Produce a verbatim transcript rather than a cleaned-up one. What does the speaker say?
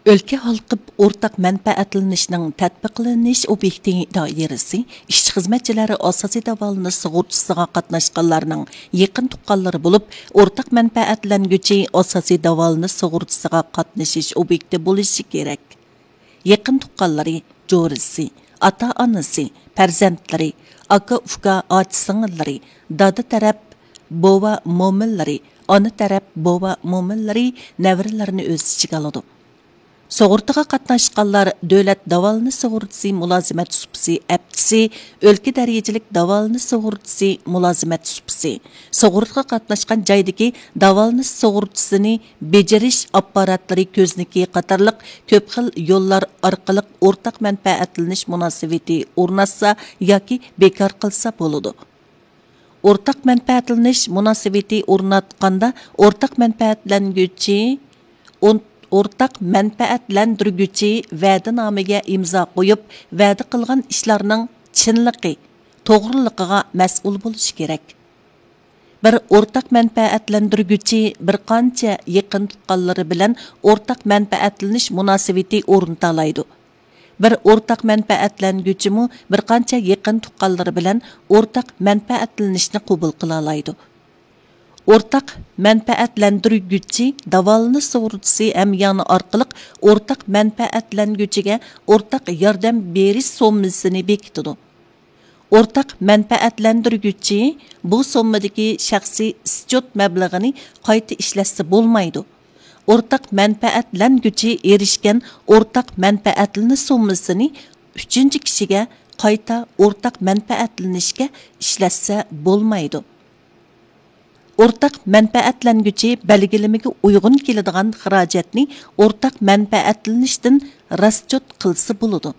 ئۆلكە ھالقىپ ئورتاق مەنپەئەتلىنىشنىڭ تەتبىقلىنىش ئوبيېكتى دائىرىسى ئىشچى-خىزمەتچىلەر ئاساسىي داۋالىنىش سۇغۇرتىسىغا قاتناشقانلارنىڭ يېقىن تۇغقانلىرى بولۇپ، ئورتاق مەنپەئەتلەنگۈچى ئاساسىي داۋالىنىش سۇغۇرتىسىغا قاتنىشىش ئوبيېكتى بولۇشى كېرەك. يېقىن تۇغقانلىرى، جورىسى، ئاتا-ئانىسى، پەرزەنتلىرى، ئاكا-ئۇكا، ئاچا-سىڭىللىرى، دادا تەرەپ بوۋا-مومىلىرى، ئانا تەرەپ بوۋا-مومىلىرى، نەۋرىلىرىنى ئۆز ئىچىگە ئالىدۇ. سۇغۇرتىغا قاتناشقانلار دۆلەت داۋالىنىش سۇغۇرتىسى مۇلازىمەت سۇپىسى ئەپچىسى، ئۆلكە دەرىجىلىك داۋالىنىش سۇغۇرتىسى مۇلازىمەت سۇپىسى، سۇغۇرتىغا قاتناشقان جايدىكى داۋالىنىش سۇغۇرتىسىنى بېجىرىش ئاپپاراتلىرى كۆزنىكى قاتارلىق كۆپ خىل يوللار ئارقىلىق ئورتاق مەنپەئەتلىنىش مۇناسىۋىتى ئورناتسا ياكى بىكار قىلسا بولىدۇ. ئورتاق مەنپەئەتلىنىش مۇناسىۋىتى ئورناتقاندا ئورتاق مەنپەئەتلەنگۈچى، ئون-، ئورتاق مەنپەئەتلەندۈرگۈچى ۋەدىنامىگە ئىمزا قويۇپ، ۋەدە قىلغان ئىشلارنىڭ چىنلىقى، توغرىلىقىغا مەسئۇل بولۇشى كېرەك. بىر ئورتاق مەنپەئەتلەندۈرگۈچى بىر قانچە يېقىن تۇغقانلىرى بىلەن ئورتاق مەنپەئەتلىنىش مۇناسىۋىتى ئورنىتالايدۇ. بىر ئورتاق مەنپەئەتلەنگۈچىمۇ بىر قانچە يېقىن تۇغقانلىرى بىلەن ئورتاق مەنپەئەتلىنىشنى قوبۇل قىلالايدۇ. ئورتاق مەنپەئەتلەندۈرگۈچى داۋالىنىش سۇغۇرتىسى ھەميانى ئارقىلىق ئورتاق مەنپەئەتلەنگۈچىگە ئورتاق ياردەم بېرىش سوممىسىنى بېكىتىدۇ. ئورتاق مەنپەئەتلەندۈرگۈچى بۇ سوممىدىكى شەخسىي ئىسچوت مەبلىغىنى قايتا ئىشلەتسە بولمايدۇ. ئورتاق مەنپەئەتلەنگۈچى ئېرىشكەن ئورتاق مەنپەئەتلىنىش سوممىسىنى ئۈچىنچى كىشىگە قايتا ئورتاق مەنپەئەتلىنىشكە ئىشلەتسە بولمايدۇ. ئورتاق مەنپەئەتلەنگۈچى بەلگىلىمىگە ئۇيغۇن كېلىدىغان خىراجەتنى ئورتاق مەنپەئەتلىنىشتىن راسچوت قىلسا بولىدۇ.